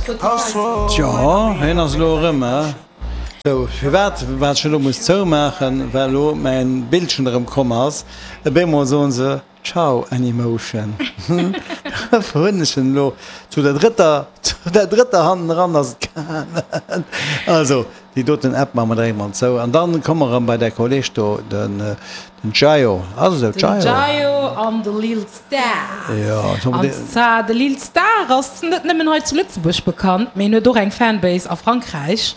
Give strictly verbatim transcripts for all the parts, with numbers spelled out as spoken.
Spotify. Tjo, hien ass elo erëm, he? Sou, firwat wat ech elo muss zoumaachen, well elo mäin Bildchen erëm komm ass. Op eemol soen se Ciao Anymotion. Dofir hunn ech en elo zu der drëtter, zu der drëtter hanneneran ass et gaangen. Also, déi doten App maache mer direkt mol zou an dann komme mer erëm bei däi Kolleg do, den Jayo. Ass esou, Den Jayo? Jayo an de Lil Star. Jo, An zwar de Lil Star ass net nëmmen hei zu Lëtzebuerg bekannt, mee en huet och eng Fanbase a Frankräich,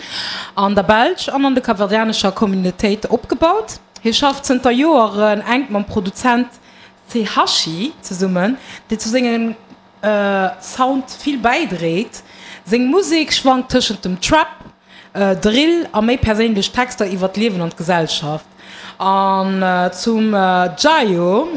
an der Belsch an an de kapverdianescher Communautéit opgebaut. Hie schafft zënter Joeren enk mam Produzent Cehashi zesummen, dee zu sengem Sound vill bäidréit. Seng Musek schwankt tëschent dem Trap, Drill a méi perséinlech Texter iwwer d'Liewen an d'Gesellschaft. An zum Jayo,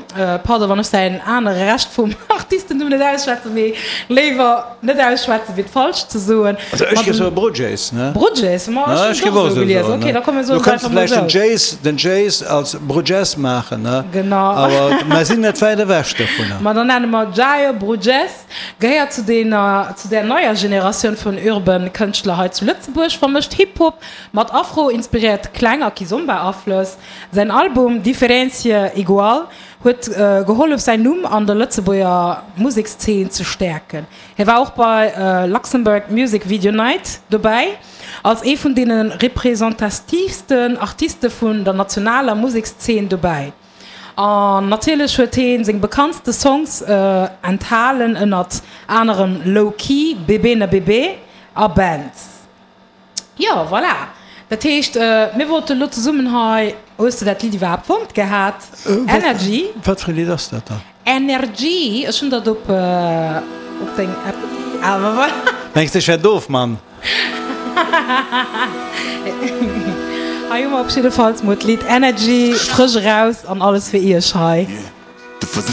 pardon wann ech säin anere Rescht vum Artistennumm net ausschwätzen, mee léiwer net ausschwätzen wéi et falsch ze soen. Also ech géif soe Bruges, ne? Bruges, ma ech hunn et och esou gelies. Ok, da komm mir soen Du et könns einfach mol vläicht den esou. Jace, den Jace als Bruges maachen, ne? Genau. Awer mer sinn net wäit ewech dovunner. Ma dann nenne mer Jayo Bruges, gehéiert zu dener, zu där neier Generatioun vun urban Kënschtler hei zu Lëtzebuerg, vermëscht Hip-Hop mat afro-inspiréierte Kläng a Kizomba-Aflëss. Säin Album Diferentie Igual huet gehollef säin Numm an der Lëtzebuerger Musekszeen ze stäerken. Hie war och bei Luxembourg Music Video Night dobäi, als ee vun deene representatiivsten Artiste vun der nationaler Musekszeen dobäi. An natierlech huet hie seng bekanntste Songs enthalen, ënnert anerem Low Key, Bébé na Bébé a Bands. Jo, voilà. Dat heescht, mir wollten elo zesummen hei, hues de dat Lidd iwwerhaapt fonnt gehat? Energy. Wat fir e Lidd ass dat dann? Energy, ech hunn dat op op deng App, awer voilà. Mengs de ech wär doof, Mann? Hei hu mer op jiddefalls mol d'Lidd Energy frësch eraus an alles fir iech hei.